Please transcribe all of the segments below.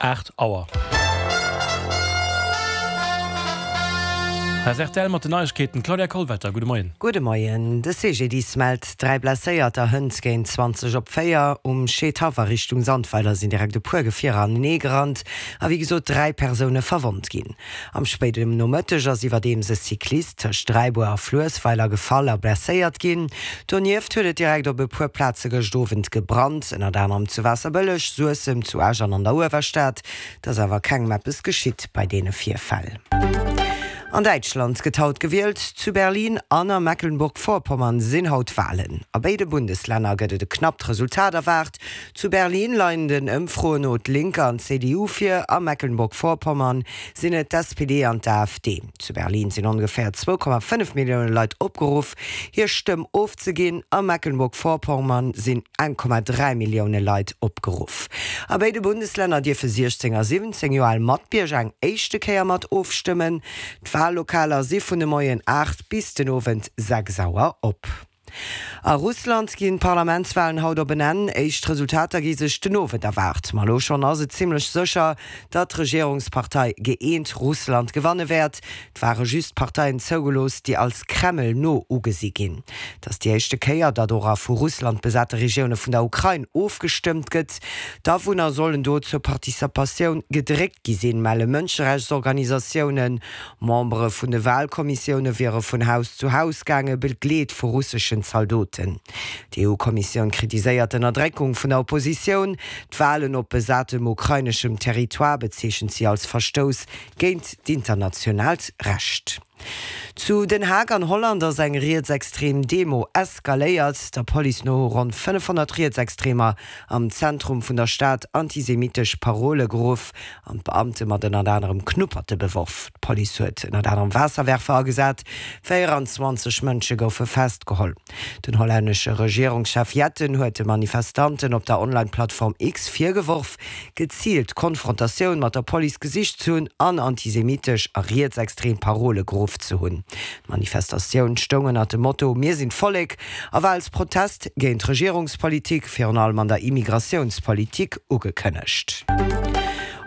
8 Auer. Hei ass rtl mat den Neiegkeeten. D'Claudia Kollwetter, gudde Moien. Gudde Moien. De CGDIS mellt 3 Blesséierter hënt géint 20 op 4. Um Scheedhaff a Richtung Sandweiler sinn direkt e puer Gefierer anenee gerannt a wéi gesot 3 Persoune verwonnt ginn. Am spéiden Nomëtteg ass iwwerdeems e Cyclist tëscht Dräibuer a Fluessweiler gefall a blesséiert ginn. Donieft huet et direkt op e puer Plaze gëscht Owend gebrannt, ënnert anerem zu Waasserbëlleg, Suessem, zu Esch an an der Uewerstad. Et ass awer kengem eppes geschitt bei deene Virfäll. An Däitschland gëtt haut gewielt. Zu Berlin an a Mecklenburg-Vorpommern sinn haut Walen. A béide Bundeslänner gëtt et e knappt Resultat erwaart. Zu Berlin leien den Ëmfroen no d'Linke an d'CDU vir, a Mecklenburg-Vorpommern sinn et d'SPD an d'AfD. Zu Berlin sinn ongeféier 2,5 Millioune Leit opgeruff, hir Stëmm ofzeginn, a Mecklenburg-Vorpommern sinn 1,3 Millioune Leit opgeruff. A béide Bundeslänner dierfe 16 a 17 Joer al Matbierger eng éischte Kéier mat ofstëmmen. D'Wallokaler si vun de Moien 8 bis den Owend 6 Auer op. A Russland ginn d'Parlamentswalen haut op en Enn. Éischt Resultater gi sech den Owend erwaart. Ma elo schonn ass et zimmlech sécher, datt d'Regierungspartei Gëeent Russland gewanne wäert. Et ware just Parteien zougelooss, déi als Kreml-no ugesi ginn. Et ass déi éischte Kéier, datt och a vu Russland besate Regioune vun der Ukrain ofgestëmmt gëtt. D'Awunner sollen do zur Participatioun gedréckt gi sinn, melle Mënscherechtsorganisatiounen. Membere vun de Walkommissioune wiere vun Haus zu Haus gaange, begleet vu russeschen Zaldoten. D'EU-Kommissioun kritiséiert d'Ënnerdréckung vun der Oppositioun. D'Walen op besatem ukraineschem Territoire bezeechent si als Verstouss géint d'internationaalt Recht. Zu Den Haag an Holland ass eng rietsextrem Demo eskaléiert. Der Police no hu ronn 500 Rietsextremer am Zentrum vun der Stad antisemitesch Parole geruff an d'Beamte mat ënnert anerem Knupperte beworf. D'Police huet ënnert anerem Waasserwerfer agesat. 24 Mënsche goufe festgeholl. Den hollännesche Regierungschef Jetten huet de Manifestanten op der Online-Plattform X virgeworf, geziilt Konfrontatioun mat der Police gesicht ze hunn an antisemitesch a rietsextrem Parole geruff ze hunn. D'Manifestatioun stoung ënnert dem Motto Mir sinn d'Vollek a war als Protest géint d'Regierungspolitik, virun allem an der Immigratiounspolitik, ugekënnegt.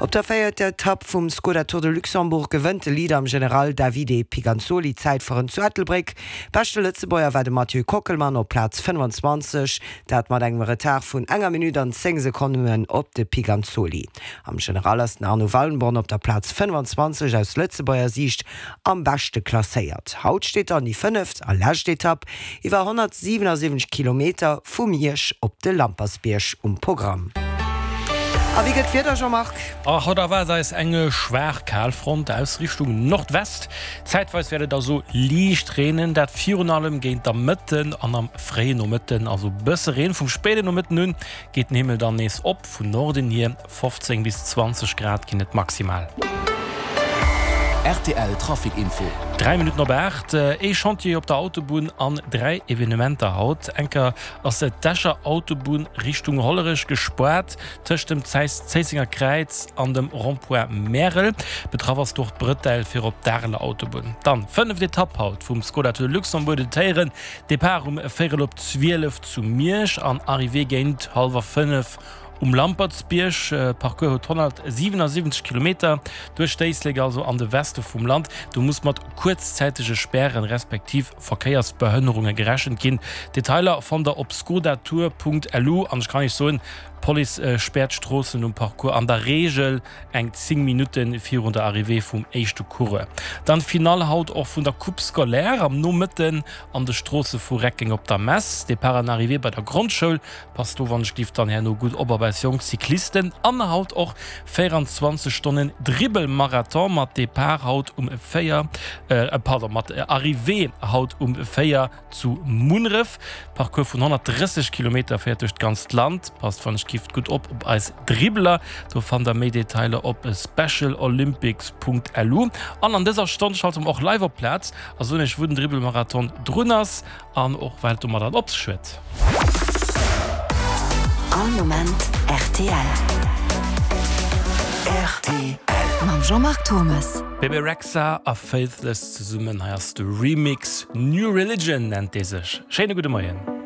Op der véierter Etapp vum Skoda Tour de Luxembourg gewënnt de Leader am General Davide Piganzoli d'Zäitfueren zu Ettelbréck. Beschte Lëtzebuerger war de Mathieu Kockelmann op Plaz 25, dat mat engem Retard vun enger Minutt an 10 Sekonnen op de Piganzoli. Am General ass den Arno Wallenborn op der Plaz 25 aus Lëtzebuerger Siicht am beschte klasséiert. Haut steet dann déi fënneft a lescht Etapp iwwer 177 Kilometer vu Miersch op de Lampersbierg um Programm. A wéi gëtt d'Wieder, Jean-Marc? Haut erwaart eis eng schwaach Kalfront aus Richtung Nordwest. Zäitweis wäert et also liicht reenen, dat virun allem géint der Mëtten an am fréie Nomëtten, also bësse Reen. Vum spéide Nomëtten un geet den Himmel dann nees op, vun Norden hier 15 bis 20 Grad ginn et maximal. Rtl Trafic Info. 3 Minutten op 8, Ee Chantier op der Autobunn an 3 Evenementer haut. Enker ass d'Escher Autobunn Richtung Hollerech gespaart tëscht dem Zéissenger Kräiz an dem Rond-point Märel. Betraff ass och d'Brëtell fir op d'Areler Autobunn. Dann fënneft Etapp haut vum Skoda Tour de Luxembourg, den Téieren. Depart um véierel op 12 zu Miersch an Arrivée géint hallwer 5 Um Lampertsbierg. Parcours huet 177 Kilometer duerch d'Éislek, also an de Weste vum Land. Do muss mat kuerzzäitege Spären respektiv Verkéiersbehënnerunge gerechent ginn. Detailer fannt der op skodatour.lu. An ech kann iech soen, d'Police späert d'Stroossen um Parcours an der Reegel eng 10 Minutte virun der Arrivée vum éischte Coureur. Dann d'Finall haut och vun der Coupe scolaire am Nomëtten an de Stroosse vu Reckeng op der Mess. Depart an Arrivée bei der Grondschoul. Passt do wann ech giff dann herno gutt op op eis jonk Cyclisten. An haut och 24 Stonnen Dribbelmarathon mat Depart haut um 4, pardon mat Arrivée haut um 4 zu Munneref. Parcours vun 130 Kilometer féiert duerch d'ganzt Land. Passt wann ech giff gutt op op eis Dribbeler. Do fannt der méi Detailer op specialolympics.lu. An an dëser Stonn schalte mer och live op d'Plaz a soen iech wou den Dribbelmarathon drun ass. An och wat et domadder op sech huet. All Moment rtl. Rtl. Mam Jean-Marc Thommes. Bebe Rexha a Faithless zesummen, hei ass de Remix, New Religion nennt dee sech. Schéine gudde Moien.